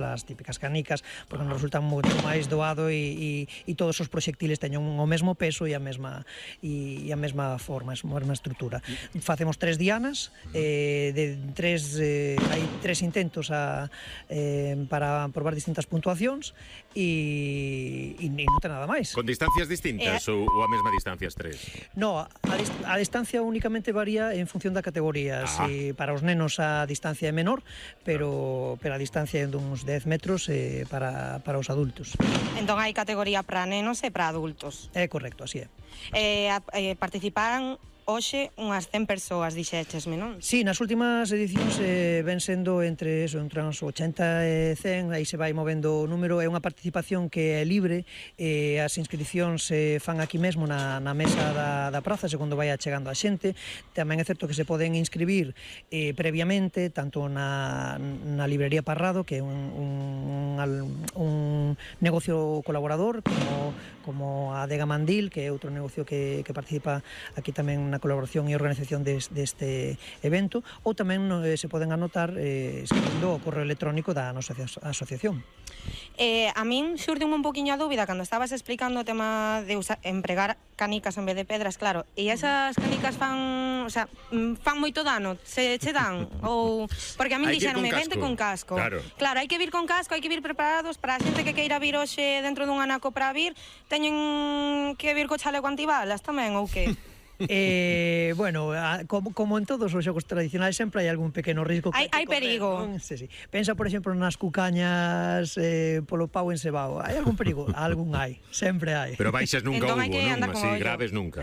as típicas canicas, porque nos resulta moito máis doado e todos os proxectiles teñen o mesmo peso e a mesma forma, a mesma estrutura. Facemos 3 dianas, hai 3 intentos para probar distintas puntuacións e non ten nada máis. Con distancias distintas ou a mesma distancia as 3? No, a distancia únicamente varía en función da categoría. Si para os nenos a distancia é menor, pero a distancia é duns 10 metros para os adultos. Entón hai categoría para nenos e para adultos. É correcto, así é. Participaran hoxe unhas 100 persoas, dixéchesme, non? Sí, nas últimas edicións ven sendo entre uns 80 e 100, aí se vai movendo o número, é unha participación que é libre, as inscripcións se fan aquí mesmo na mesa da praza, segundo vai chegando a xente. Tamén é certo que se poden inscribir previamente, tanto na librería Parrado, que é un negocio colaborador, como a Adega Mandil, que é outro negocio que participa aquí tamén na colaboración e organización deste evento, ou tamén se poden anotar escribindo o correo electrónico da nosa asociación. A min xurde un poquinho a dúbida cando estabas explicando o tema de empregar canicas en vez de pedras, claro, e esas canicas fan moito dano, se che dan, ou porque a min dixeronme vente con casco. Claro, hai que vir con casco, hai que vir preparados para a xente que queira vir hoxe dentro dun anaco para vir, teñen que vir co chaleco antibalas tamén ou que? Bueno, como en todos os xogos tradicionais sempre hai algún pequeno risco. Hai perigo. Sí. Pensa, por exemplo, nas cucañas polo pau encebado. Hai algún perigo? Algún hai, sempre hai. Pero baixas nunca hubo, non? Así graves nunca.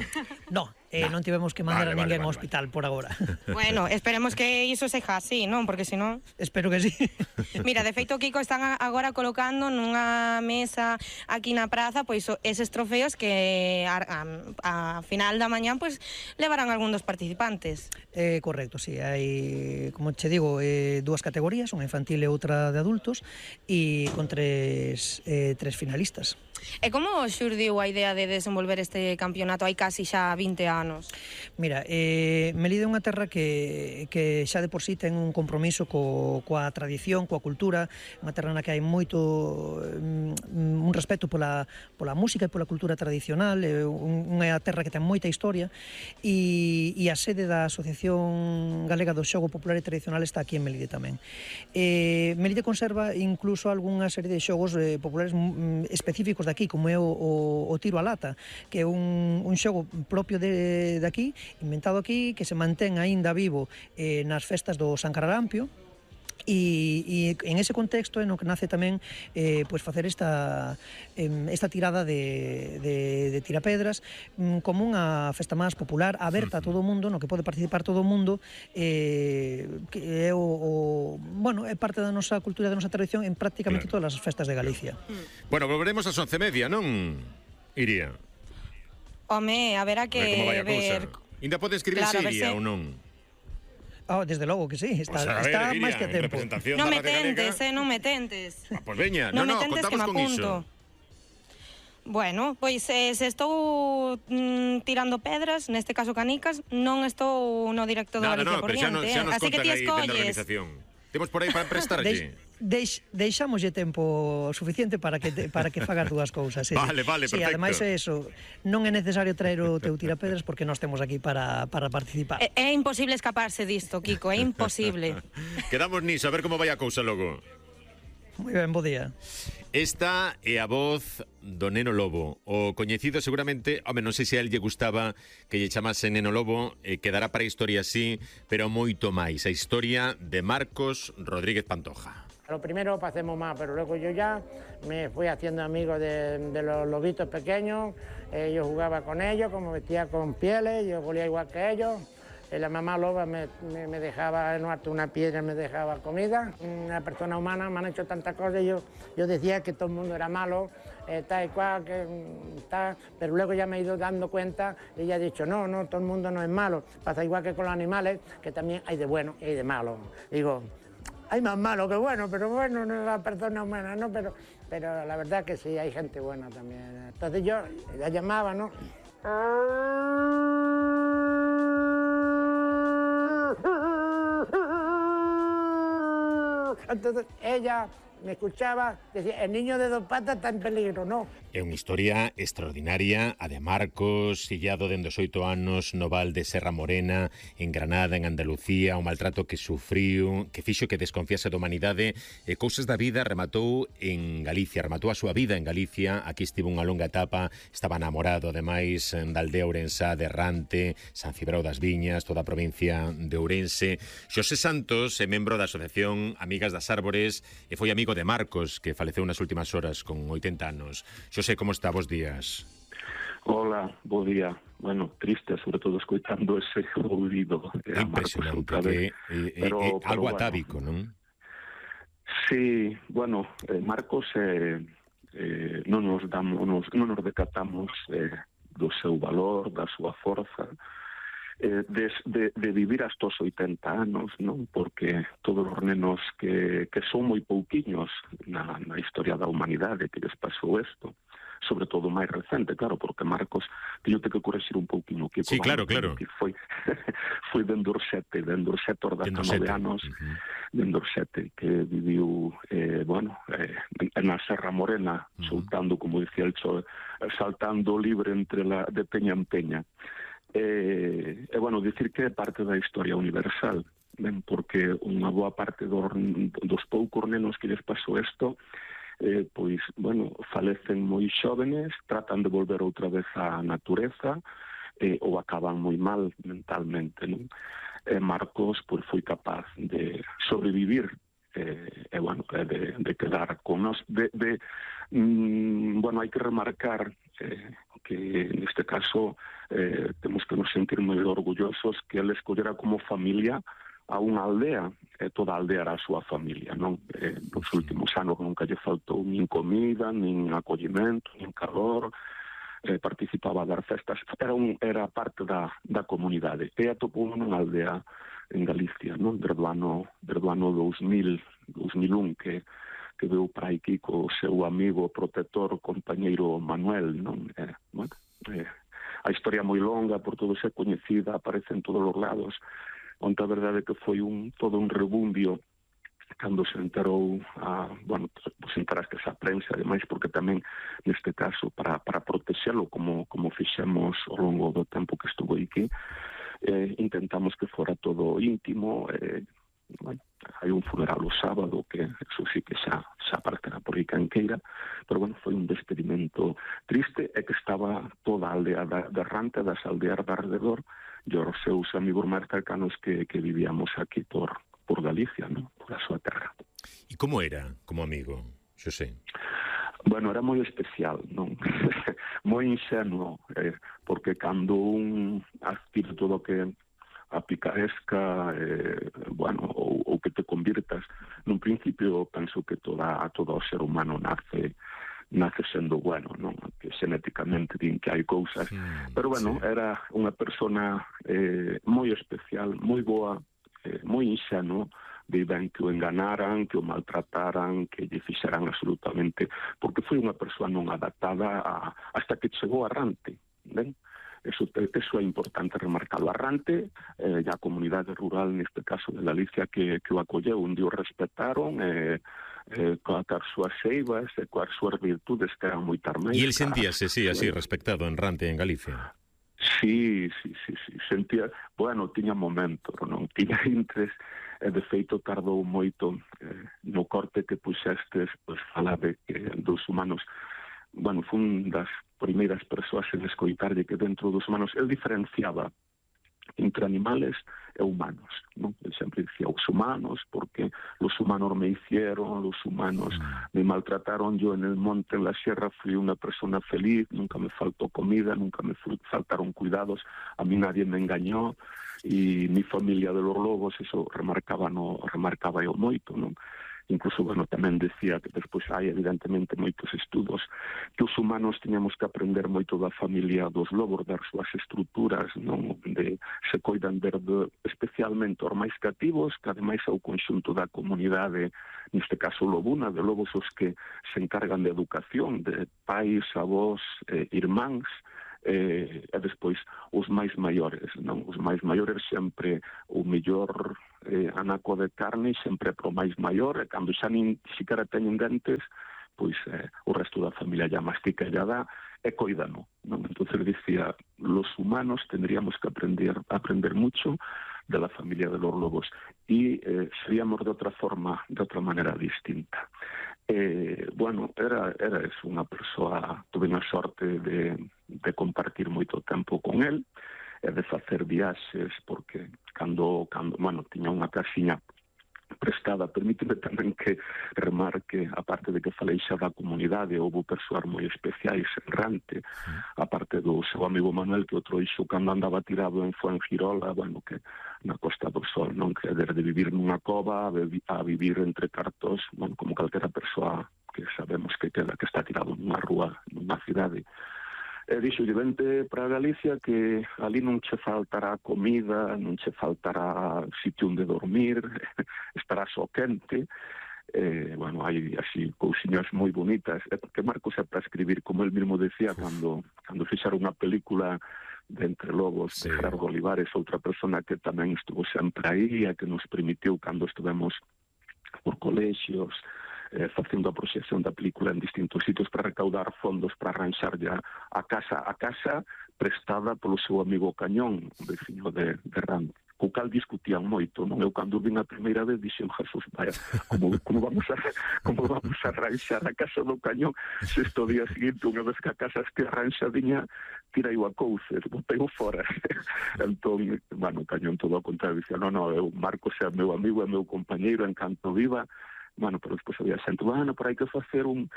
No, non tivemos que mandar a ninguén ao hospital por agora. Bueno, esperemos que iso seja así, non? Porque senón... Espero que sí. Mira, de feito, Kiko, están agora colocando nunha mesa aquí na praza pois eses trofeos que a final da mañán pois levarán algún dos participantes. Correcto, sí. Hai, como che digo, 2 categorías, unha infantil e outra de adultos, e con 3 finalistas. E como xurdiu a idea de desenvolver este campeonato hai casi xa 20 anos? Mira, Melide é unha terra que xa de por sí ten un compromiso coa tradición, coa cultura, unha terra na que hai moito un respeto pola música e pola cultura tradicional, unha terra que ten moita historia, e a sede da Asociación Galega do Xogo Popular e Tradicional está aquí en Melide tamén. Melide conserva incluso algunha serie de xogos populares específicos de aquí, como é o tiro a lata, que é un xogo propio de aquí, inventado aquí, que se mantén aínda vivo nas festas do San Cararampio, e en ese contexto é no que nace tamén pois facer esta tirada de tirapedras como unha festa máis popular, aberta a todo o mundo, no que pode participar todo o mundo, que é é parte da nosa cultura, da nosa tradición en prácticamente todas as festas de Galicia. Bueno, volveremos ás 11:30, non, Iria? Home, a ver ver... Ainda pode escribirse Iria ou non? Desde logo que sí, está máis que a tempo. Non me tentes, non me tentes. Pois veña, contamos con iso. Bueno, pois se estou tirando pedras, neste caso canicas, non estou no directo do Galicia por diante, así que ti escolles. Temos por aí para prestarlle. Deixámoslle tempo suficiente para que fagas 2 cousas. Vale, perfecto. Ademais é eso, non é necesario traer o teu tirapedras porque nós temos aquí para participar. É imposible escaparse disto, Kiko, é imposible. Quedamos niso, a ver como vai a cousa logo. Moi ben, bo día. Esta é a voz do Neno Lobo, o coñecido seguramente, non sei se a él lle gustaba que lle chamase Neno Lobo, quedará para a historia así, pero moito máis, a historia de Marcos Rodríguez Pantoja. A lo primero pasemos más, pero luego yo ya me fui haciendo amigo de los lobitos pequeños, yo jugaba con ellos, como vestía con pieles, yo volía igual que ellos. La mamá loba me dejaba en harto una piedra, me dejaba comida. Una persona humana me han hecho tantas cosas, yo decía que todo el mundo era malo, tal y cual, pero luego ya me he ido dando cuenta y ya he dicho, no, todo el mundo no es malo. Pasa igual que con los animales, que también hay de bueno y hay de malo. Digo, hay más malo que bueno, pero bueno, no es la persona humana, ¿no? Pero la verdad que sí, hay gente buena también. Entonces yo la llamaba, ¿no? Entonces ella me escuchaba, decía, el niño de 2 patas está en peligro, no. É unha historia extraordinaria, a de Marcos, illado dende os 8 anos no val de Serra Morena, en Granada, en Andalucía, o maltrato que sufriu, que fixo que desconfiase da humanidade, e cousas da vida rematou en Galicia, rematou a súa vida en Galicia, aquí estivo unha longa etapa, estaba namorado, ademais, da aldea ourensá de Errante, San Cibrao das Viñas, toda a provincia de Ourense. Xosé Santos é membro da Asociación Amigas das Árbores e foi amigo de Marcos, que faleceu nas últimas horas con 80 anos. Xosé, como está? Bos días. Hola, bo día. Bueno, triste, sobre todo, escoitando ese ouvido. É impresionante, que é algo atávico, non? Sí, bueno, Marcos non nos decatamos do seu valor, da súa forza, de vivir hasta os 80 anos, non? Porque todos os nenos que son moi pouquiños na historia da humanidade que les pasou isto, sobre todo máis recente, claro, porque Marcos teño que correxir un pouquinho que sí, claro, claro. Que foi dende os 7 os 19 anos, dende os 7 que viviu na Serra Morena, soltando, como dicía el Cho, saltando libre de peña en peña. Bueno, dicir que é parte da historia universal, ben, porque unha boa parte dos poucos nenos que les pasou isto, pois, bueno, falecen moi xóvenes, tratan de volver outra vez á natureza, ou acaban moi mal mentalmente, non? Marcos, pois, foi capaz de sobrevivir, de quedar con nós, bueno, hai que remarcar que neste caso temos que nos sentir moi orgullosos que ele escollera como familia a unha aldea, toda a aldea era a súa familia, non? Nos últimos anos nunca lle faltou nin comida, nin acollimento, nin calor, participaba das festas, era parte da comunidade. E atopou nunha aldea en Galicia, non? Desde o ano 2001, que veu para aquí co seu amigo, protector, compañeiro Manuel, non? A historia moi longa, por todos é coñecida, aparece en todos os lados, onde a verdade que foi todo un rebumbio cando se enterou se enteraste a prensa, ademais, porque tamén neste caso para protexelo como fixemos ao longo do tempo que estuvo aquí, intentamos que fora todo íntimo. Hai un funeral o sábado que eso sí que xa aparecerá por aí canqueira, pero bueno, foi un despedimento triste, e que estaba toda a aldea de Errante, das aldeas de alrededor, e os seus amigos máis cercanos que vivíamos aquí por Galicia, non? Por a súa terra. E como era como amigo, Xosé? Bueno, era moi especial, non? Moi ingenuo, porque cando un aspira todo que a picaresca, ou que te convirtas, nun principio penso que todo o ser humano nace sendo bueno, non? Que xenéticamente din que hai cousas, pero bueno, era unha persona moi especial, moi boa, moi inxenuo, de ben que o enganaran, que o maltrataran, que lle fixeran absolutamente, porque foi unha persoa non adaptada hasta que chegou a Errante, ben? Eso é importante remarcarlo. Errante, e a comunidade rural, neste caso de Galicia, que o acolleu, onde o respetaron, coas súas seivas, coas súas virtudes que eran moi tarmeiras. E el sentíase, sí, así, respectado en Errante, en Galicia? Sí, sentía, bueno, tiña momentos, non? Tiña intres, de feito tardou moito no corte que puxestes, pois falade que dos humanos, bueno, foi un das primeiras persoas en escoitarlle que dentro dos humanos el diferenciaba entre animales e humanos, non? Ele sempre dicía os humanos, porque los humanos me hicieron, los humanos me maltrataron, yo en el monte, en la sierra, fui una persona feliz, nunca me faltó comida, nunca me faltaron cuidados, a mí nadie me engañó, e mi familia de los lobos, eso remarcaba eu moito, non? Incluso, bueno, tamén decía que despois hai evidentemente moitos estudos que os humanos tiñamos que aprender moito da familia dos lobos, das súas estruturas, non? Onde se coidan especialmente os máis cativos, que ademais é o conxunto da comunidade, neste caso lobuna, de lobos os que se encargan de educación, de pais, avós, irmáns, e despois os máis maiores, non? Os máis maiores sempre o mellor anaco de carne sempre pro máis maior, e cando xa nin siquiera teñen dentes, pois o resto da familia ya mastica e ya dá, e coídano, non? Entonces dicía, los humanos tendríamos que aprender mucho de la familia de los lobos, y seríamos de outra forma, de outra manera distinta. Bueno, era unha persoa, tuve a sorte de compartir moito tempo con el, e de facer viaxes, porque cando bueno, tiña unha casiña prestada. Permíteme tamén que remarque, aparte de que falei xa da comunidade, houve persoas moi especiais en Rante, aparte do seu amigo Manuel, que outro ixo cando andaba tirado en Fuengirola, bueno, que na Costa do Sol, non? Que desde vivir nunha cova a vivir entre cartos, bueno, como calquera persoa que sabemos que está tirado nunha rúa, nunha cidade. E dixo, vente para Galicia que ali non che faltará comida, non che faltará sitio onde dormir, estará só quente. Bueno, hai así cousiñas moi bonitas, que Marcos é para escribir, como el mismo decía, cando fixaron unha película de Entre Lobos, de Gerardo Olivares, outra persona que tamén estuvo sempre aí, e que nos permitiu, cando estivemos por colexios, facendo a proxección da película en distintos sitios para recaudar fondos para arranxar ya a casa prestada polo seu amigo Cañón, un veciño de Rande, co cal discutían moito, non? Eu cando vin a primeira vez dixen, Jesús, vaya, como vamos a arranxar a casa do Cañón se este día seguinte, unha vez que a casa este arranxadiña, tirei a couces, botei-o fora. Entón, bueno, Cañón todo ao contrario, dicía, non, Marcos é meu amigo, é meu compañeiro, en canto viva. Bueno, pero despois había xente, bueno, pero hai que facer un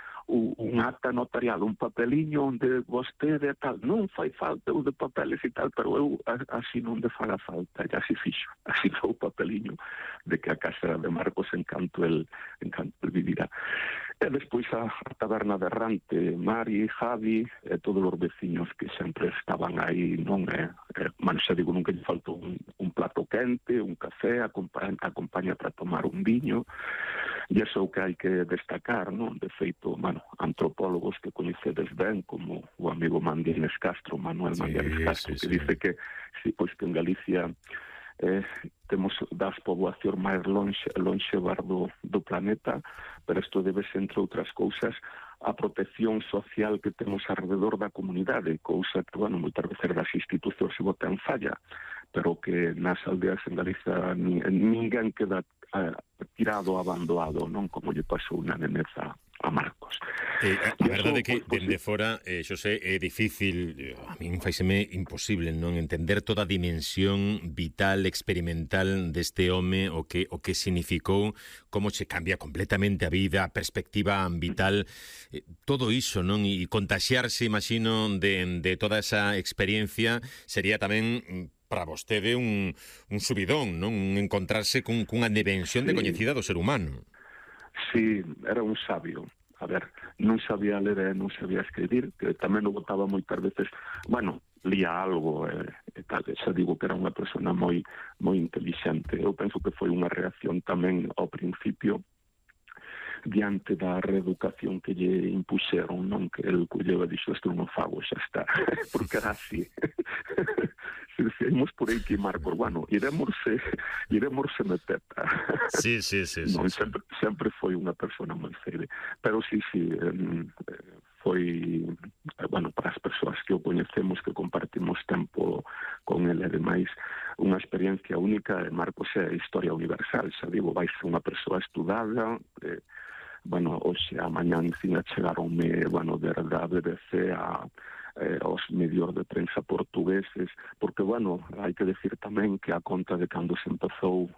acta notarial, un papeliño onde vostede tal, non fai falta o de papeles e tal, pero eu así non de faga falta, ya se fixo, así foi o papeliño de que a casa era de Marcos en canto el vivirá. E despois a taberna de Rante, Mari, Javi, e todos os veciños que sempre estaban aí, non xa digo, nunca lle faltou un plato quente, un café, acompaña para tomar un viño. E iso é o que hai que destacar, non? De feito, antropólogos que coñecedes ben, como o amigo Mandianes Castro, Manuel Mandianes Castro, que dice que en Galicia temos das poboacións máis lonxevas do planeta, pero isto debese, entre outras cousas, a protección social que temos alrededor da comunidade, cousa que, moitas veces das institucións se botan falla, pero que nas aldeas en Galicia ninguén queda tirado, abandonado, non? Como lle pasou na neneza a Marcos. A verdade é que dende fora, Xosé, é difícil, a min faiseme imposible, non entender toda a dimensión vital, experimental deste home, o que significou, como se cambia completamente a vida, a perspectiva vital, todo iso, non? E contaxiarse, imagino, de toda esa experiencia sería tamén para vostede un subidón, non? Encontrarse cunha dimensión de coñecida do ser humano. Sí, era un sabio. A ver, non sabía ler e non sabía escribir, que tamén o botaba moitas veces, lía algo e tal, xa digo que era unha persona moi intelixente. Eu penso que foi unha reacción tamén ao principio diante da reeducación que lle impuxeron, non? Que el colleu e dixo, isto non fago, xa está, porque era así. Se decíamos por aí que Marcos, iremosse meteta. Sí. Non, sempre foi unha persona moi feire, pero sí, foi, para as persoas que o coñecemos, que compartimos tempo con ele, ademais, unha experiencia única. Marcos é historia universal, xa digo, vai ser unha persoa estudada. Hoxe a mañá encima chegaronme, desde a BBC aos medios de prensa portugueses, porque, hai que decir tamén que a conta de cando se empezou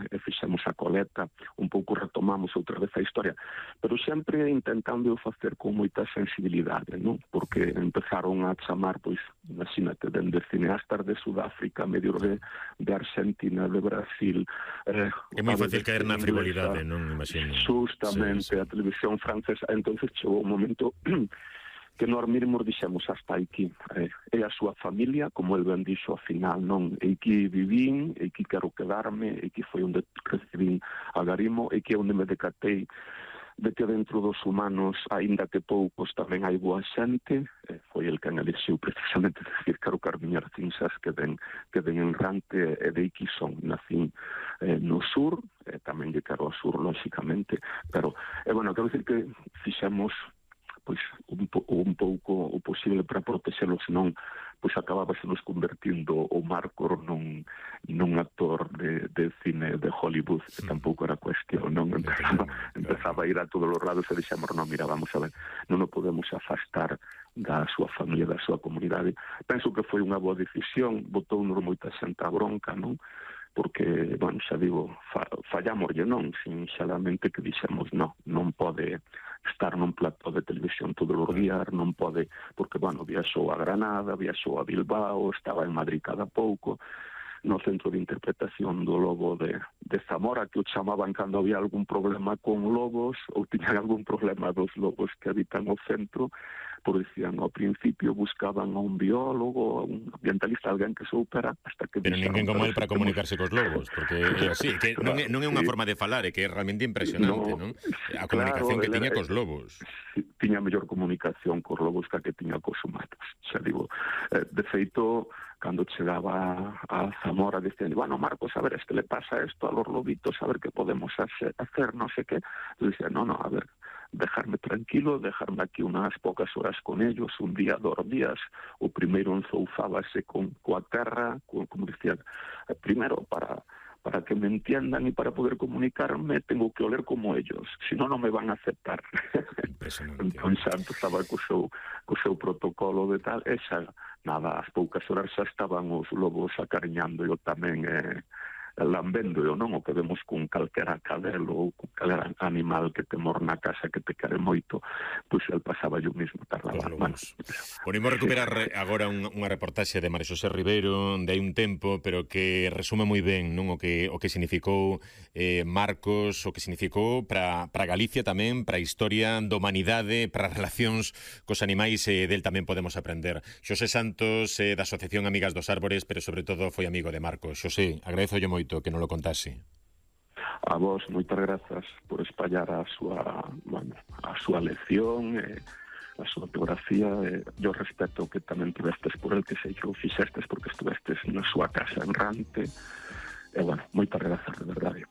e fixemos a coleta, un pouco retomamos outra vez a historia, pero sempre intentando facer con moita sensibilidade, non? Porque empezaron a chamar, imagínate, dende cineastas de Sudáfrica, medios de Argentina, de Brasil. É moi fácil caer na frivolidade, non? Imagino. Justamente, a televisión francesa. Entonces chegou un momento que nós mesmos dixemos hasta aquí. É a súa familia, como el ben dixo ao final, non? E que vivín, e que quero quedarme, e que foi onde recibín a Garimo, e que onde me decatei de que dentro dos humanos, aínda que poucos, tamén hai boa xente. Foi el que elixiu precisamente decir que o Carmiñar Cinzas que ven en Rante e de aquí son. Nacín no sur, tamén lle quero ao sur, lóxicamente, pero, bueno, quero dicir que fixemos pois un pouco o posible para protexelos, senón pois acabábase nos convertindo o Marcos nun actor de cine de Hollywood, que tampouco era cuestión, non? Empezaba a ir a todos os lados e dixemos, non, mira, vamos a ver, non o podemos afastar da súa familia, da súa comunidade. Penso que foi unha boa decisión, botou-nos moita xente a bronca, non? Porque, bueno, xa digo, fallámoslle, non? Sinxelamente que dixemos, non pode estar nun plató de televisión todos os días, non pode, porque, bueno, viaxou a Granada, viaxou a Bilbao, estaba en Madrid cada pouco, no centro de interpretación do Lobo de Zamora, que o chamaban cando había algún problema con lobos, ou tiñan algún problema dos lobos que habitan o centro, por dicían, ao principio buscaban a un biólogo, a un ambientalista, alguén que soupera, hasta que... Pero ninguén como él para comunicarse cos lobos, porque sí, que non é unha forma de falar, é que é realmente impresionante, non? A comunicación que tiña cos lobos. Tiña mellor comunicación cos lobos que tiña cos humanos, xa digo. De feito, cando chegaba a Zamora, dicían, bueno, Marcos, a ver, es que le pasa esto a los lobitos, a ver qué podemos hacer, no sé qué. Yo decía, no, a ver, dejarme tranquilo, dejarme aquí unas pocas horas con ellos, un día, 2 días. O primeiro enzoufábase coa terra, como dicía, primero para que me entiendan y para poder comunicarme tengo que oler como ellos, si no, non me van a aceptar. Entón xa empezaba co seu protocolo de tal, e xa, nada, ás poucas horas xa estaban os lobos acariñando eu tamén, lambendo eu, non? O que vemos con calquera cadelo ou con calquera animal que te mor na casa que te quere moito, pois el pasaba yo mismo, tardaba. Ponimos recuperar agora unha reportaxe de María Xosé Ribeiro de hai un tempo, pero que resume moi ben, non? O que significou Marcos, o que significou para Galicia tamén, para a historia da humanidade, para as relacións cos animais, del tamén podemos aprender. Xosé Santos, da Asociación Amigas dos Árbores, pero sobre todo foi amigo de Marcos. Xosé, agradezolle moito que non lo contase. A vos, moitas grazas por espallar a súa lección, a súa biografía, e o respeto que tamén tivestes por el, que sei que o fixestes porque estuvestes na súa casa en Rante, e, bueno, moitas grazas, de verdade.